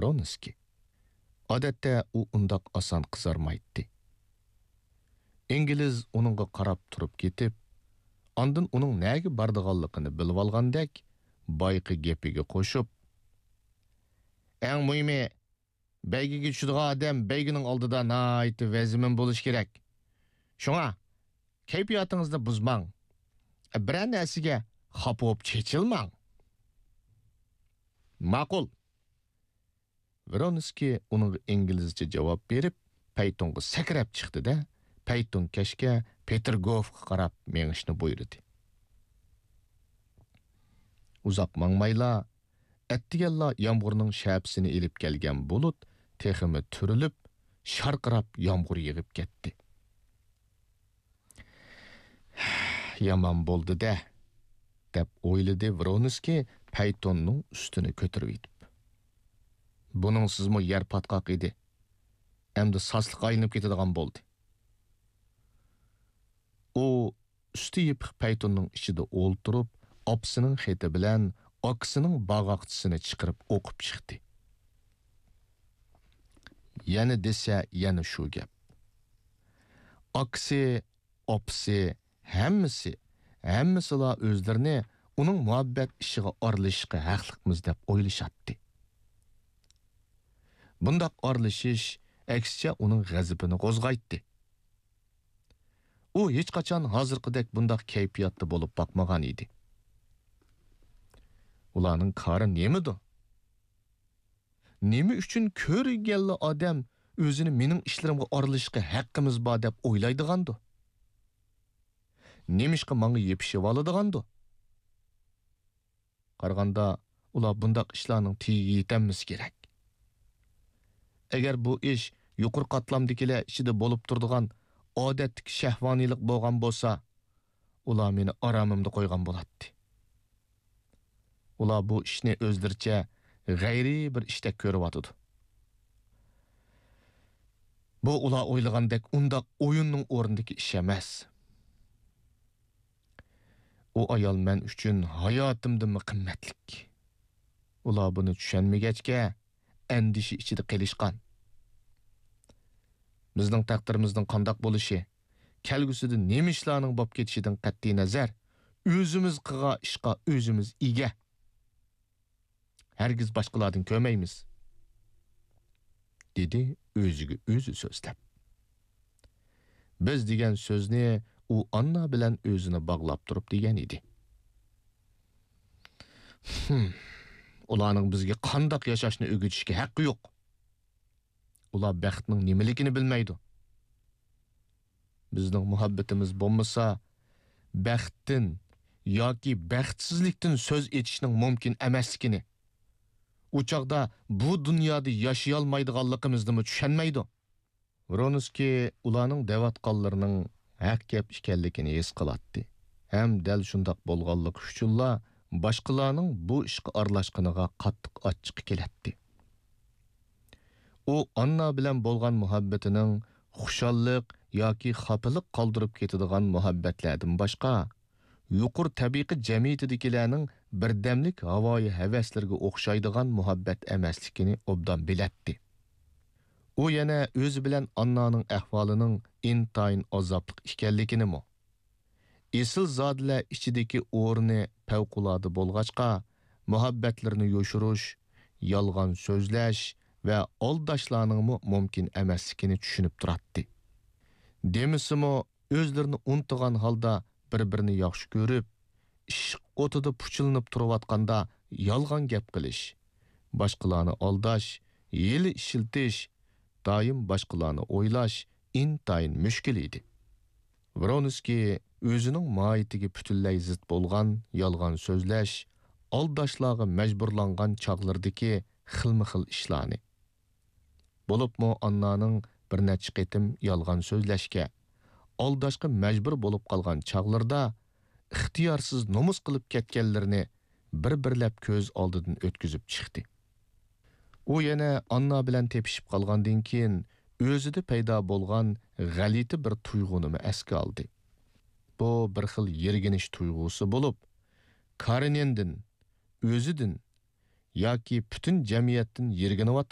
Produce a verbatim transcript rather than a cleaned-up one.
ۋرونسكىي. ئادەتتە ئۇ ئۇنداق ئاسان قىزارمايتتى. ئىنگلىز ئۇنىڭغا قاراپ تۇرۇپ كېتىپ، ئاندىن ئۇنىڭ نەگە بارىدىغانلىقىنى بىلىۋالغاندەك، بايىقى گېپىگە قوشۇپ، «ئەڭ مۇھىمى، بەيگىگە چۈشىدىغان ئادەم بەيگىنىڭ ئالدىدا ناھايىتى ۋەزمىن بولۇشى كېرەك. شۇڭا كەيپىياتىڭىزنى بۇزماڭ. بىرەر نەرسىگە خاپا بولۇپ چېچىلماڭ.» «ماقۇل.» ۋرونسكىي ئۇنىڭغا ئىنگلىزچە جاۋاب بېرىپ، پەيتۇنغا سەكرەپ چىقتى-دە، پەيتۇنكەشكە پېتىرگوفقا قاراپ مېڭىشنى بۇيرۇدى. ئۇزاق ماڭمايلا، ئەتىگەنلا يامغۇرنىڭ شەپىسىنى ئېلىپ كەلگەن بۇلۇت تېخىمۇ تۈرۈلۈپ، شارقىراپ يامغۇر يېغىپ كەتتى. «يامان بولدى-دە» دەپ ئويلىدى ۋرونسكىي پەيتوننىڭ ئۈستىنى كۆتۈرۈۋېتىپ. «بۇنىڭسىزمۇ يەر پاتقاق ئىدى. ئەمدى ساسلىققا ئايلىنىپ كېتىدىغان بولدى.» ئۇ ئۈستى يېپىق پەيتوننىڭ ئىچىدە ئولتۇرۇپ، ئاپىسىنىڭ خېتى بىلەن ئاكىسىنىڭ باغاقچىسىنى چىقىرىپ ئوقۇپ چىقتى. يەنە دېسە، يەنە شۇ گەپ. ئاكىسى، ئاپىسى، ھەممىسى، ھەممىسىلا ئۆزلىرىنى ئۇنىڭ مۇھەببەت ئىشىغا ئارىلىشىشقا ھەقلىقمىز دەپ ئويلىشاتتى. بۇنداق ئارىلىشىش، ئەكسىچە، ئۇنىڭ غەزىپىنى قوزغايتتى. ئۇ ھېچقاچان ھازىرقىدەك بۇنداق كەيپىياتتا بولۇپ باقمىغان ئىدى. ئۇلارنىڭ كارى نېمىدۇ؟ نېمە ئۈچۈن كۆرگەنلا ئادەم ئۆزىنى مېنىڭ ئىشلىرىمغا ئارىلىشىشقا ھەققىمىز بار دەپ ئويلايدىغاندۇ؟ نېمىشقا ماڭا يېپىشىۋالىدىغاندۇ؟ قارىغاندا، ئۇلار بۇنداق ئىشلارنىڭ تېگىگە يېتەلمىسە كېرەك. ئەگەر بۇ ئىش يۇقىرى قاتلامدىكىلەر ئىچىدە بولۇپ تۇرىدىغان ئادەتتىكى شەھۋانىيلىق بولغان بولسا، ئۇلار مېنى ئارامىمدا قويغان بولاتتى. ئۇلار بۇ ئىشنى ئۆزلىرىچە غەيرىي بىر ئىشتەك كۆرۈۋاتىدۇ. بۇ ئۇلار ئويلىغاندەك ئۇنداق ئويۇننىڭ ئورنىدىكى ئىش ئەمەس. ئۇ ئايال مەن ئۈچۈن ھاياتىمدىنمۇ قىممەتلىك. ئۇلار بۇنى چۈشەنمىگەچكە، ئەندىشە ئىچىدە قېلىشقان. بىزنىڭ تەقدىرىمىزنىڭ قانداق بولۇشى، كەلگۈسىدە نېمە ئىشلارنىڭ بولۇپ كېتىشىدىن قەتئىينەزەر، ئۆزىمىز قىلغان ئىشقا ئۆزىمىز ئىگە. ھەرگىز باشقىلاردىن كۆرمەيمىز، دېدى ئۆزىگە ئۆزى سۆزلەپ. «بىز» دېگەن سۆزنى ئۇ ئاننا بىلەن ئۆزىنى باغلاپ تۇرۇپ دېگەن ئىدى. «ھىم، ئۇلارنىڭ بىزگە قانداق ياشاشنى ئۆگىتىشكە ھەققى يوق. ئۇلار بەختنىڭ نېمىلىكىنى بىلمەيدۇ. بىزنىڭ مۇھەببىتىمىز بولمىسا، بەختتىن ياكى بەختسىزلىكتىن سۆز ئېچىشنىڭ مۇمكىن ئەمەسلىكىنى، ئۇ چاغدا بۇ دۇنيادا ياشىيالمايدىغانلىقىمىزنىمۇ چۈشەنمەيدۇ.» ۋرونسكىي ئۇلارنىڭ دەۋاتقانلىرىنىڭ ھەق گەپ ئىكەنلىكىنى ھېس قىلاتتى ھەم دەل شۇنداق بولغانلىقى ئۈچۈنلا باشقىلارنىڭ بۇ ئىشقا ئارىلاشقىنىغا قاتتىق ئاچچىقى كېلەتتى. ئۇ ئاننا بىلەن بولغان مۇھەببىتىنىڭ خۇشاللىق ياكى خاپىلىق قالدۇرۇپ كېتىدىغان مۇھەببەتلەردىن باشقا، يۇقىرى تەبىقە جەمئىيىتىدىكىلەرنىڭ بىردەملىك ھاۋايى ھەۋەسلىرىگە ئوخشايدىغان مۇھەببەت ئەمەسلىكىنى ئوبدان بىلەتتى. ئۇ يەنە ئۆزى بىلەن ئاننانىڭ ئەھۋالىنىڭ ئىنتايىن ئازابلىق ئىكەنلىكىنىمۇ، ئېسىلزادىلەر ئىچىدىكى ئورنى پەۋقۇلئاددە بولغاچقا، مۇھەببەتلىرىنى يوشۇرۇش، يالغان سۆزلەش ۋە ئالداشلارنىڭمۇ مۇمكىن ئەمەسلىكىنى چۈشىنىپ تۇراتتى. دېمىسىمۇ، ئۆزلىرىنى ئۇنتۇغان ھالدا بىر-بىرىنى ياخشى كۆرۈپ، ئىشق ئوتىدا پۇچىلىنىپ تۇرۇۋاتقاندا يالغان گەپ قىلىش، باشقىلارنى ئالداش، ھىيلە ئىشلىتىش، دائىم باشقىلارنى ئويلاش ئىنتايىن مۈشكۈل ئىدى. ۋرونسكىي ئۆزىنىڭ ماھىيىتىگە پۈتۈنلەي زىت بولغان يالغان سۆزلەش، ئالداشلارغا مەجبۇرلانغان چاغلىرىدىكى خىلمۇ خىل ئىشلارنى، بولۇپمۇ ئاننانىڭ بىر نەچچە قېتىم يالغان سۆزلەشكە، ئالداشقا مەجبۇر بولۇپ قالغان چاغلىرىدا ئىختىيارسىز نومۇس قىلىپ كەتكەنلىرىنى بىر-بىرلەپ كۆز ئالدىدىن ئۆتكۈزۈپ چىقتى. ئۇ يەنە ئاننا بىلەن تېپىشىپ قالغاندىن كېيىن، ئۆزىدە پەيدا بولغان غەلىتە بىر تۇيغۇنىمۇ ئەسكە ئالدى. بۇ بىر خىل يىرگىنىش تۇيغۇسى بولۇپ، كارېنىندىن، ئۆزىدىن، ياكى پۈتۈن جەمئىيەتتىن يىرگىنىۋاتامدۇ؟